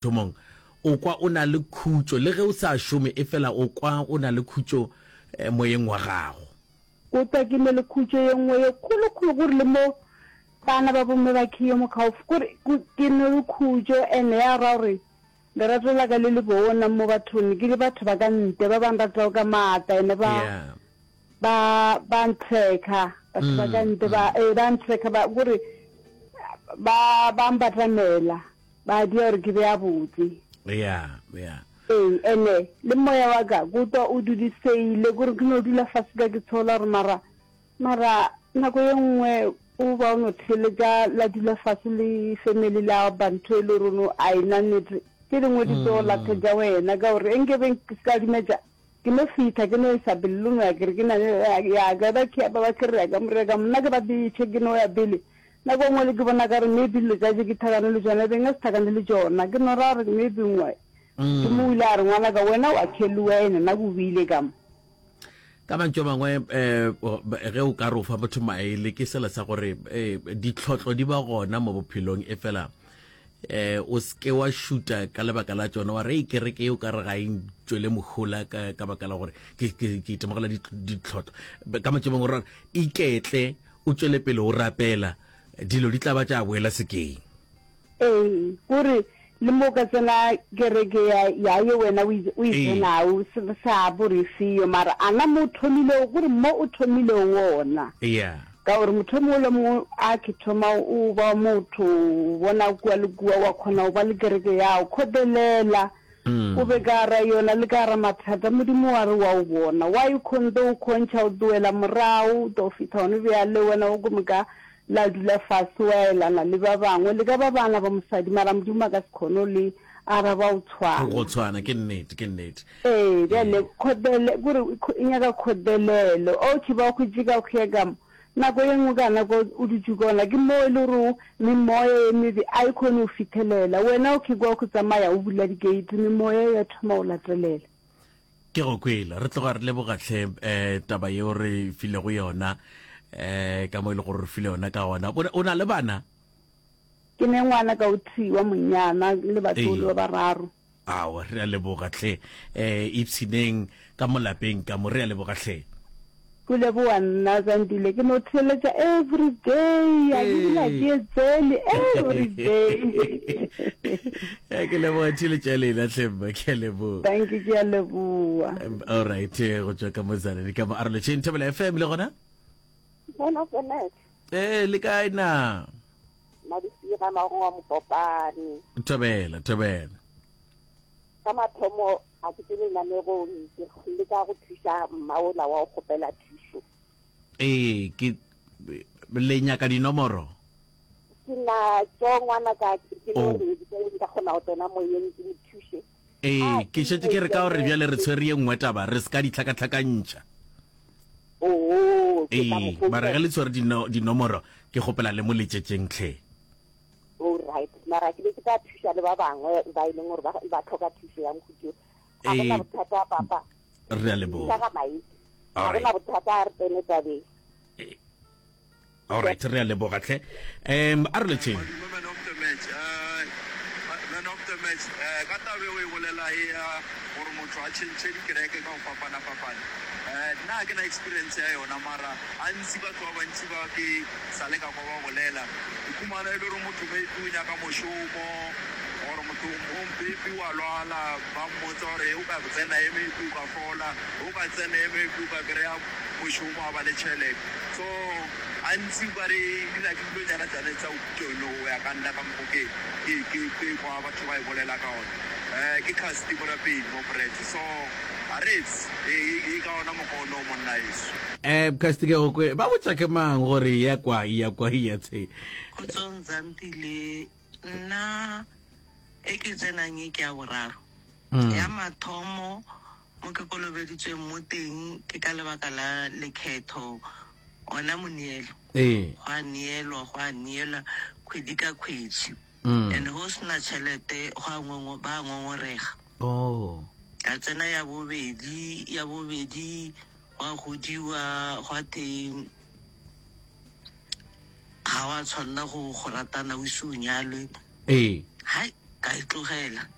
Thomong, o kwa o na le khutšo, le ge o sa šome, efela o kwa o na le khutšo moyeng wa gago. O twa ke ne le khutšo ye nngwe ye kgolo-kgolo, gore le mo bana ba bomme ba khe yo mokgaufsi, kore ke ne le khutšo, and ya ra gore lerato la ka le le bona mo bathong, ke le batho ba ka ntle ba ba nratago ka maatla, and ba ba ba nthekha, batho ba ka ntle ba, ee, ba nthekha, ba kore ba ba mbatamela. Ba dia gore ke be a botse. Ya, ya. Ee, ene le moya wa ka ke utlwa o dudiseile, kore ke no dula fase ka ke tshola gore mara, mara nako ye nngwe o ba o no theeletša la dula fase le family la ba ntho e le gore no a e na nnete. Tše dingwe di tlo lathetša wena ka gore e nke be ke se ka dumetša ke no fihla ke no isa pele le no ya ke re ke na le ya ka ba ke ba ke re ya ka mo re ka mna ke ba betšhe ke no ya pele. Nako nngwe le ke bona ka re maybe dilo tša tše ke thakane le tšona, e be nka se thakane le tšona. Ke no ra gore maybe nngwe ke mo o ile a re ngwanaka wena wa kheluwa ene nna ke o beile ka mo. Ka mantšu a mangwe um ge o ka re o fa motho maele ke sela sa gore um ditlhotlo di ba gona mo bophelong e fela um o seke wa šuta ka lebaka la tšona wa re ei kereke ye o ka re ga e ntšwele mohola ka ka baka la gore ke ke ke itemogela ditlhotlo. Ka mantšu a mangwe o ra gore iketle O tšwele pele o rapela, dilo di tla ba tša boela sekeng. Ee, kore le mo o ka tsena kereke ya, ya ye wena o e, o e tsenago, se, sa bo re feo, mara ana mo o thomilego, kore mo o thomilego wona. Yeah. Ka gore motho o mongwe le mongwe a ke thoma o ba motho, o bona kua le kua, wa kgona go ba le kereke yago. Kgotelela. O be ka gara yona le ka gara mathata, Modimo wa re wa o bona. Wa e kgonthe o kgontšha o tloela morago, o tlo fihla gone bjale wena o ke moka la dula fase wa elana le ba bangwe, le ka ba bana ba mosadi, mara Modimo a ka se kgone go le araba o tshwana. Go tshwana, ke nnete, ke nnete. Ee, bjale kgotlele, kore e nyaka kgotlelelo. Okay, ba hwetše ka hwea ka mo. Nako ye nngwe ka nako o dutše gona, ke moo e le gore memoya ye mebe a e kgone go fithelela. Wena o kgekwa go tsamaya o bula di-gate, memoya ya thoma go latelela. Ke go kwele. Re tloga re leboga hle um taba yeo re filego yona um ka mo e le gore re file yona ka gona. O na le bana? Ke ne ngwana ka o tee wa monyana le batlogolo ba bararo. Aowa, re a leboga hle. Eh, ipshineng ka mo lapeng ka mo. Re a leboga hle. Go leboga nna Zandile, ke no theeletša every day, ga ke dula ke etsele every day. Eh, ke leboga theeletša ya lena hle mma, ke a leboga. Thank you, ke a leboga. All right, eh, go tšwa ka mo Tzaneen ka mo Arolotšheng Thobela FM le gona? Man of the match. Eh, le kae na? Madisiga Mago wa Mokopane. Thobela, thobela. Sa mathomo ga ke tsene lenanegong ke leka go thuša mma ola wa go kgopela thušo. Ee, ke le nyaka dinomoro? Ke na tšo ngwana ka ke no oh. re ke nka kgona go tsena moyeng ke mo thuše. Ee, ke šetše ke re ka gore bjale re tshwere ye nngwe taba re se ka di tlhakatlhakantšha. Oo, ke tla mo Ee, mara ge le tshwere dino, dinomoro ke kgopela le mo letšetšeng tlhe. All right, mara ke be ke tla thuša le ba bangwe ba e leng gore ba, ba tlhoka thušo ya mohuto. Ga go na Ee, bothata papa. re a Thuša leboga. ga maiki. All Ga go right. na bothata a re tsene tabeng. Ee. Alright, re a leboga hle. Um, a re letšeng. Madume man of the match eh man of the match eh ka taba e o e bolela e ya gore motho a tšhentšhe dikereke ka go fapana fapana eh nna ga ke na experience ya yona mara gantsi batho ba bantši ba ke sa le ka kwa ba bolela o khumana e le gore motho maybe o nyaka mošomo or motho o maybe wa lwala ba mmotsa gore o ka tsena e maybe o ka fola o ka tsena e maybe o ka kry-a mošomo a ba le tšhelete so gantsi o kare di na ke dilonyana tsane tsa utone go ya ka nna ka mokgo ke ke ke ke kwa batho ba e bolela ka gona um ke casti morapedi mo brad so a retse e e ka ona mokgwa ono monna eso. Um casti ke go kwe ba botša ke mang gore ya kwa ya kwa ya tshe. Kgotsong Zantile, nna e ke tsenang e ke ya boraro. Ya mathomo Mo ke kolobeditsweng mo teng ke ka lebaka la lekhetho, ona moneelo. Ee. Go a neelwa, go a neelwa kgwedi ka kgwedi. And go sena tšhelete go a ngongo, ba a ngongorega. Oh. Ka tsena ya bobedi, ya bobedi gwa godiwa gwa the ga wa tshwanela go go ratana o ise o nyalwe. Ee. Hai. Ka e tlogela.